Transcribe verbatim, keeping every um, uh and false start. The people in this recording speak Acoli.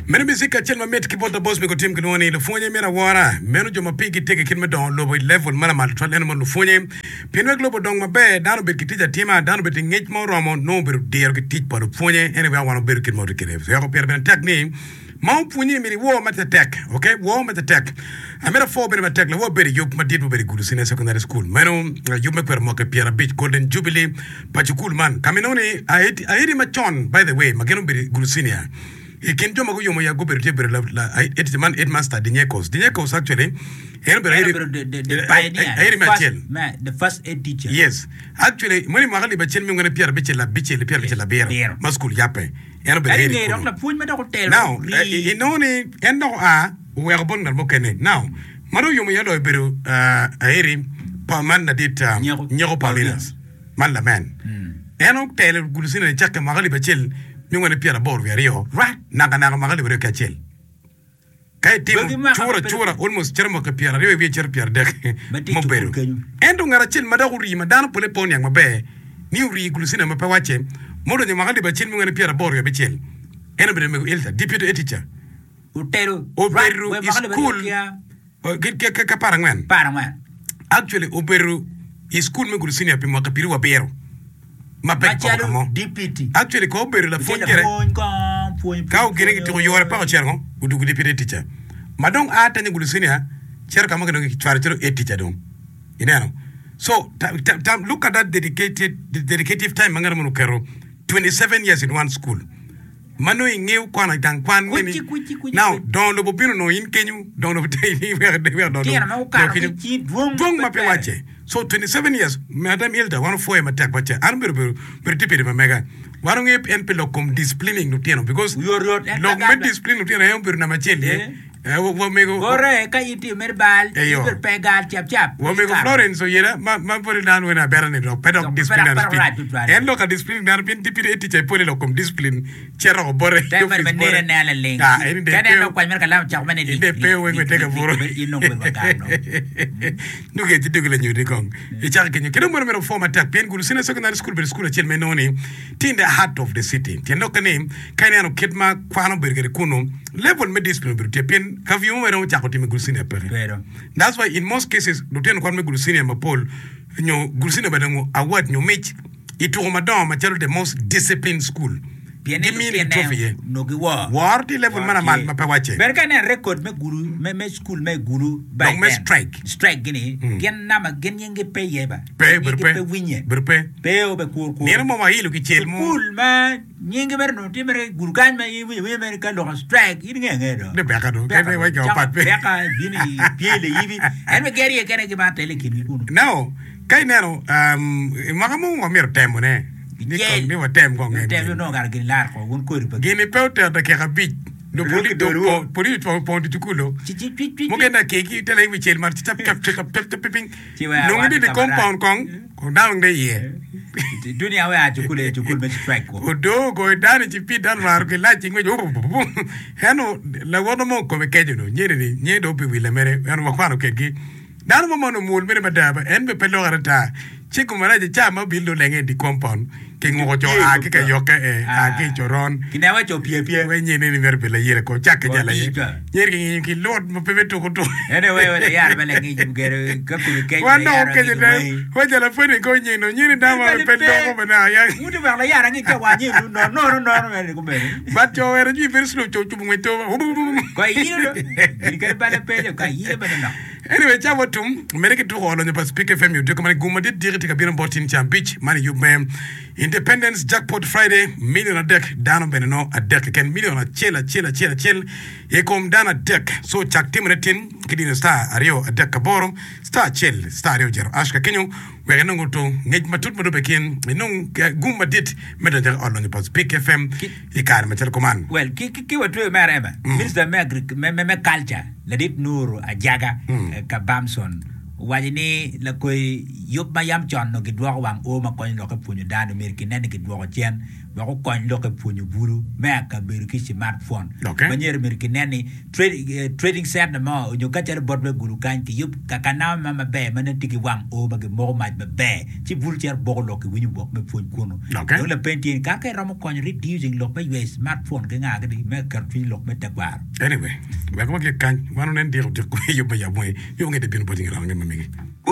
Meno music acel mamit ki bot Labos Mego Tim kilwongo ni Lupwonye Myero Awora. Meno jo ma pigi tek i kit me dongo lobo i level ma lamal tutwal eno mo lupwonye. Pien wek lobo odong maber, dano obed ki tic atima, dano obed ki ngec ma oromo, nongo obedo diro ki tic pa lupwonye. Ene weko wan wabedo kit ma watye kwede. Weko pire bene tek ni ma opwonye myero iwor ma tetek. Ok, wor ma tetek. Amito apwo bene matek lawo abedo i yub madit mubedo i Gulu Senior Secondary School. Meno yub me kwero mwaki pyerabic Golden Jubilee pa cukul man. Ka ma inongo ni aedi macon by the way ma gin obedo i Gulu Senior i kin jo ma guyomo ya gubedo tye obedo la man headmaster Dinyekos. Dinyekos actually en obedo aedi me acel. The first head teacher. Yes. Actually meno i mwaka alip acel miya angwen pyerabicel abicel ki pyerabicel abiro ma cukul yabbe. En obedo Ento aedi i ngeye dok kunu. lapwony ma dok otelo Now, rii. inongo ni en dok oa oweko bot ngat mukene. Now, ma dong oyomo iye loyo obedo aeri pa man ladit Nyeko. Nyeko Paulinus, man lamen. En otelo Gulucina nicakke mwaka alip acel miya angwen ki pyeraboro wiye aryo nakanaka mwaka alip aryo ki acel. Ka itimo Wegi mwaka cura ma pe cura almost cito mwaka pyeraryo i wiye cito pyeradek Ma tye i cukul mubedo. kenyo. Ento ngat acel ma dok orii ma dano pole pe oniang maber ni orii i Gulucina ma pe wacce ma odonyo i mwaka alip acel miya angwen ki pyeraboro wiye abicel en obedo mego Ilda, deputy head teacher. Otelo Obedo we i mwaka alip aryo cukul ki a ki ki ki apar angwen. apar angwen. Actually obedo i cukul me Gulu Senior pi mwaka piero abiro ma pe kipoko ka Macalo mo. deputy. Actually ko obedo Tye lapwony gire. lapwony kong pwony Ka pwony ogine kitiko pwonyo. yore paka ocito ngo odwogo deputy teacher. Ma dong a tenyo Gulu Senior cito ka mo kidong kicwalo calo head teacher dong. Ineno? So ta, ta, ta, look at that dedicated dedicative time ma ngat moni oketo twenty seven years in one school. Ma nongo ingeyo kwano i gang kwan Kuci, meni. kuci, kuci, Now, kuci. dongo lobo bino nongo in kenyo, dongo lobo tye in weko weko dongo Tyen ma lobo gukato ki kenyo. ci dwong ma Dwong pe ma pe twere. wacce. So twenty seven years, Madam Hilda wan opwoye matek wacce. An obedo bedo bedo tye pede pa mega. Wan ongeyo en pi lok kom disciplining lutino because Oyotoyot en pe lok me gamba. discipline lutino en obedo namba acel iye. Eh. Eh, wa- wamego Bote ka in tye mere bal, Eyo. in bedo pe gal cap cap. Wamego Ikaro. Florence oyela ma ma pwod dano wene abera ni dok pe dok Dok pe discipline dok dano pe speed. rac tutwal. En lok a discipline dano pien deputy head teacher ipwode lok kom discipline cito oko bote Te mere office ma nene bote. anena laling. Ah, en Ka de ineno pe dok kwany mere kalam ocako mere ni en lik de pe lik weng lik weteka lik lik buru. in dong bedo wagam dong. Nuge ci dugi lanyudi kong. Icako kenyo. Kendo meno meno pwo matek pien Gulu Senior Secondary School obedo cukul acel ma inongo ni tye in the heart of the city. Tyen lokke ni ka ineno kit ma kwan obedo kwede kunu, level me discipline obedo tye pien curfew mo ma iromo cako timo i Gulu Senior peke. Bedo. That's why in most cases lutino kwan me Gulu Senior mapol nyo Gulu Senior bene nongo award nyo mic i tuko madongo macalo the most disciplined school. Pien ni Gimini lutine trophy iye. onongo giwor. Woro tye i level Woro ma lamal tye. ma pe wacce. Bene ka ineno record me Gulu me me cukul me Gulu by Dok me then strike. strike gini gin namba gin nying-gi pe iye ba. Pe, Gin obedo nying-gi pe. pe winye. Obedo pe. Pe obe kur kur. Nino mo wailo kicel mo. Cukul ma nyingi mere onongo tye mere Gulu kany ma in iwinyo awinya mere ka loko strike in ingeyo angeya do. Ni beka do. Beka Kene do. wai jo Cako pat pe. beka bino i pyelo iyibi. En bene geri iye kene gimaro tele i kingi kunu. Now, ka ineno, um, i mwaka mo wamito temone. Ni Kicel. kong, ni watem kong en Tem gin. onongo kara gin lar ko wun kodi pa gin. Gini pe otero dakika abic. Do Roki poli, do doruo. po, poli otwongo pongo ducu-kulo. Ci ci cwic cwic Mukene cwic. akeki tele i wi cel malo ci cap cap cap cap cap piny. Ci wek Nongo awat ni i di ka marac. compound kong, kong dano dong iye. Dunia we a cukul aye cukul me strike ko. Odo ogoyo dano ci pi dano raro ki lac ci ngwec eno lawotwa mo kome keco do nyeri ni nye do pi wile mere eno wakwano kedgi dano mo ma onongo mwol mere mada ba en be pe lokere ata ci kome rac ca ma obil do lenge i di compound ki nguko co a ki ka yokke e a ki i coron Kineko co pye pye. we nyene ni myero bed layere ko cakke Ko jal aye tica. nyeri ki ngiyo ki lut ma pe me tuko tuko Ene we we layara ma langic gero ka kome kec wan dok layara okeco ngic te wai. we jal apwony ko nyeno nyeri dano ma Bene pe pe. loko bene aya Wuti wek layara ngic ka wa nyenu no nono nono mere kumene. But co wero jwi very slow co cubo ngwec to. Ko iyilo do. Gin kadi bale pe ka iyilo bene nok. Anyway, ca watum mere ki tuko olonyo pa Speak F M i odiko mani gum madit diki tye ka bino bot in ca abic man i yub me Independence Jackpot Friday million adek dano bene no adek keken million acel acel acel acel i kom dano adek so cak timone tin ki dino star aryo adek aboro star acel star aryo jero ash ka kenyo wek inong oto ngec matut ma dong be kin inong gum madit me donyo i ot lonyo pa Speak F M i kare macalo kuman. Well, ki ki ki watweyo mere ema, Minister me agri me me me culture Ladit Nuru Ajaga Kabamson owaco ni lakoi yub ma yam con onongo gidwoko wang oo ma konyo lok me pwonyo dano myero kinen ni gidwoko cen Wek okony lok e pwonyo bulu me akabedo ki smartphone. Okay. Ma myero myero kinen ni trade, trading center mo onyo ka calo bot me gulu kany kiyub ka ka nama ma maber ma nen tye ki wang o ma gimoko mac maber ci bulu cito boko lok kiwinyo wok me pwony kunu. Okay. Dong lapeny tye ni ka ka iromo konyo reducing lok me yweyo smartphone ki nga gini me keto cwiny lok me tekwaro. Anyway, wek wagik kany, wan onen diko diko yub me yab wangi, yub nge te bino boti nge range ma megi.